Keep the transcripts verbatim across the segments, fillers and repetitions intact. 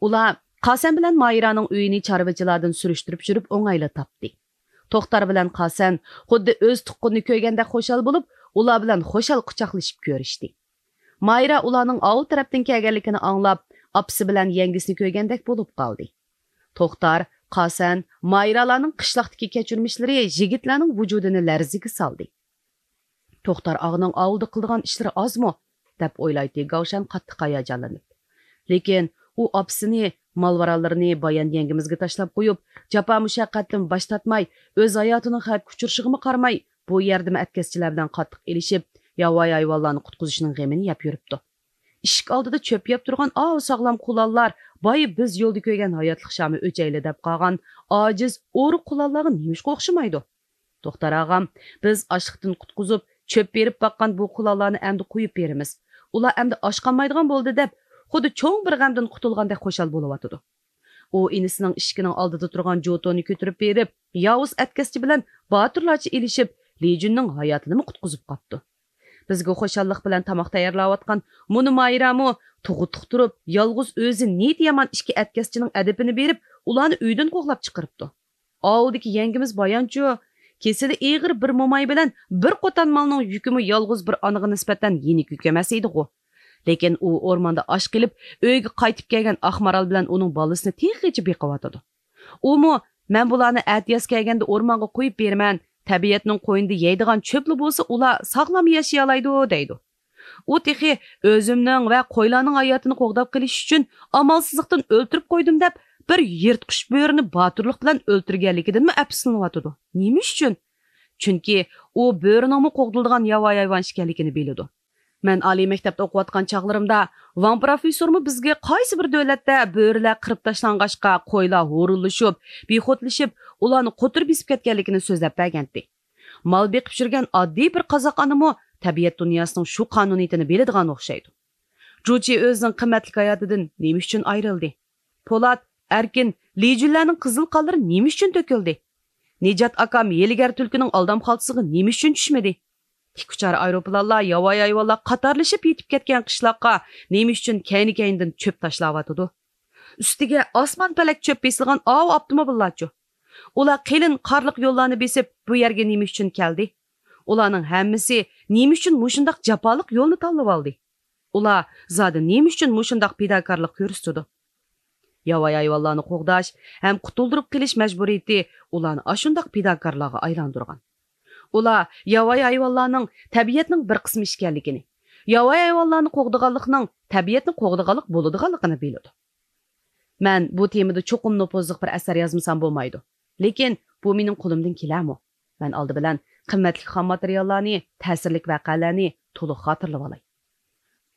ئۇلار قاسەن بىلەن مايرانىڭ ئۆيىنى چارۋىچىلاردىن سۈرۈشتۈرۈپ يۈرۈپ ئوڭايلا تاپتى. توختار بىلەن قاسەن خۇددى ئۆز تۇغقىنىنى كۆرگەندەك خۇشال بولۇپ، ئۇلار بىلەن خۇشال قۇچاقلىشىپ كۆرۈشتى. مايرا ئۇلارنىڭ ئاۋۇ تەرەپتىن كەلگەنلىكىنى ئاڭلاپ، ئاپىسى بىلەن يەڭگىسىنى كۆرگەندەك بولۇپ قالدى. توختار، قاسەن، مايرالارنىڭ قىشلاقتىكى كەچۈرمىشلىرى يىگىتلەرنىڭ ۋۇجۇدىنى لەرزىگە سالدى. توختار ئاغىنىڭ ئاۋۇلدا قىلىدىغان ئىشلىرى ئازمۇ؟ دەپ ئويلايتتى گاۋشەن قاتتىق ھاياجانلىنىپ. لېكىن ئۇ ئاپىسىنى، مال-ماراللىرىنى بايان يەڭگىمىزگە تاشلاپ قويۇپ، جاپا-مۇشەققەتتىن باش تارتماي، ئۆز ھاياتىنىڭ خەۋپكە ئۇچرىشىغىمۇ قارىماي، بۇ يەردىمۇ ئەتكەسچىلەر بىلەن قاتتىق ئېلىشىپ، ياۋايى ھايۋانلارنى قۇتقۇزۇشنىڭ غېمىنى يەپ يۈرۈپتۇ. ئىشىك ئالدىدا چۆپ يەپ تۇرغان ئاۋۇ ساغلام قۇلانلار، بايا بىز يولدا كۆرگەن ھاياتلىق شامى ئۆچەيلى دەپ قالغان ئاجىز ئورۇق قۇلانلارغا نېمىشقا ئوخشىمايدۇ؟ توختار ئاغام، بىز ئاچلىقتىن قۇتقۇزۇپ، چۆپ بېرىپ باققان بۇ قۇلانلارنى ئەمدى قويۇپ بېرىمىز. ئۇلار ئەمدى ئاچقانمايدىغان بولدى دەپ، خۇددى چوڭ بىر غەمدىن قۇتۇلغاندەك خۇشال بولۇۋاتىدۇ. ئۇ ئىنىسىنىڭ ئىشىكىنىڭ ئالدىدا تۇرغان جوتونى كۆتۈرۈپ بېرىپ، ياۋۇز ئەتكەسچى بىلەن باتۇرلارچە ئېلىشىپ، لى جۈننىڭ ھاياتىنىمۇ قۇتقۇزۇپ قاپتۇ. بىزگە خۇشاللىق بىلەن تاماق تەييارلاۋاتقان مۇنۇ مايرامۇ تۇغۇتلۇق تۇرۇپ، يالغۇز ئۆزى نىيىتى يامان ئىككى ئەتكەسچىنىڭ ئەدىپىنى بېرىپ، ئۇلارنى ئۆيدىن قوغلاپ چىقىرىپتۇ. ئاۋۇلدىكى يەڭگىمىز بايانچۇ، كېسىلى ئېغىر بىر موماي بىلەن بىر قوتان مالنىڭ يۈكىمۇ يالغۇز بىر ئانىغا نىسبەتەن يېنىك يۈك ئەمەس ئىدىغۇ. لېكىن ئۇ ئورماندا ئاچ قېلىپ، ئۆيگە قايتىپ كەلگەن ئاق مارال بىلەن ئۇنىڭ بالىسىنى تېخىچە بېقىۋاتىدۇ. ئۇمۇ، «مەن بۇلارنى ئەتىياز كەلگەندە ئورمانغا قويۇپ بېرىمەن، تەبىئەتنىڭ قوينىدا يەيدىغان چۆپلا بولسا، ئۇلار ساغلام ياشىيالايدۇ» دەيدۇ. ئۇ تېخى «ئۆزۈمنىڭ ۋە قويلارنىڭ ھاياتىنى قوغداپ قېلىش ئۈچۈن ئامالسىزلىقتىن ئۆلتۈرۈپ قويدۇم» دەپ، بىر يىرتقۇچ بۆرىنى باتۇرلۇق بىلەن ئۆلتۈرگەنلىكىدىنمۇ ئەپسۇسلىنىۋاتىدۇ. نېمە ئۈچۈن؟ چۈنكى ئۇ بۆرىنىڭمۇ قوغدىلىدىغان ياۋايى ھايۋان ئىكەنلىكىنى بىلىدۇ. مەن ئالىي مەكتەپتە ئوقۇۋاتقان چاغلىرىمدا، ۋاڭ پروفېسسورمۇ بىزگە قايسى بىر دۆلەتتە بۆرىلەر قىرىپ تاشلانغاچقا، قويلار ھۇرۇنلىشىپ، بىخۇدلىشىپ، ئۇلارنى قوتۇر بېسىپ كەتكەنلىكىنى سۆزلەپ بەرگەنتى. مال بېقىپ يۈرگەن ئاددىي بىر قازاق ئانىمۇ تەبىئەت دۇنياسىنىڭ شۇ قانۇنىيىتىنى بىلىدىغان ئوخشايدۇ. جۇچى ئۆزىنىڭ قىممەتلىك ھاياتىدىن نېمە ئۈچۈن ئايرىلدى؟ پولات، ئەركىن، لى جۈنلەرنىڭ قىزىل قانلىرى نېمە ئۈچۈن تۆكۈلدى؟ نىجات ئاكام ھىيلىگەر تۈلكىنىڭ ئالدام خالتىسىغا نېمە ئۈچۈن چۈشمىدى؟ تىككۈچارە ئايروپىلانلار، ياۋايى ھايۋانلار قاتارلىشىپ يېتىپ كەتكەن قىشلاققا نېمە ئۈچۈن كەينى-كەينىدىن چۆپ تاشلاۋاتىدۇ؟ ئۈستىگە ئاسمان پەلەك چۆپ بېسىلغان ئاۋۇ ئاپتوموبىللارچۇ؟ ئۇلار قېلىن قارلىق يوللارنى بېسىپ، بۇ يەرگە نېمە ئۈچۈن كەلدى؟ ئۇلارنىڭ ھەممىسى نېمە ئۈچۈن مۇشۇنداق جاپالىق يولنى تاللىۋالدى؟ ئۇلار زادى نېمە ئۈچۈن مۇشۇنداق پىداكارلىق كۆرسىتىدۇ؟ ياۋايى ھايۋانلارنى قوغداش ھەم قۇتۇلدۇرۇپ قېلىش مەجبۇرىيىتى ئۇلارنى ئاشۇنداق پىداكارلارغا ئايلاندۇرغان. ئۇلار ياۋايى ھايۋانلارنىڭ تەبىئەتنىڭ بىر قىسمى ئىكەنلىكىنى، ياۋايى ھايۋانلارنى قوغدىغانلىقنىڭ تەبىئەتنى قوغدىغانلىق بولىدىغانلىقىنى بىلىدۇ. مەن بۇ تېمىدا چوقۇم نوپۇزلۇق بىر ئەسەر يازمىسام بولمايدۇ. لېكىن بۇ مېنىڭ قولۇمدىن كېلەرمۇ؟ مەن ئالدى بىلەن قىممەتلىك خام ماتېرىياللارنى، تەسىرلىك ۋەقەلەرنى تولۇق خاتىرىلىۋالاي.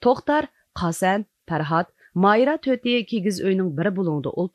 توختار، قاسەن، پەرھات، مايرا تۆتى كىگىز ئۆينىڭ بىر بۇلۇڭىدا ئولتۇرۇپ،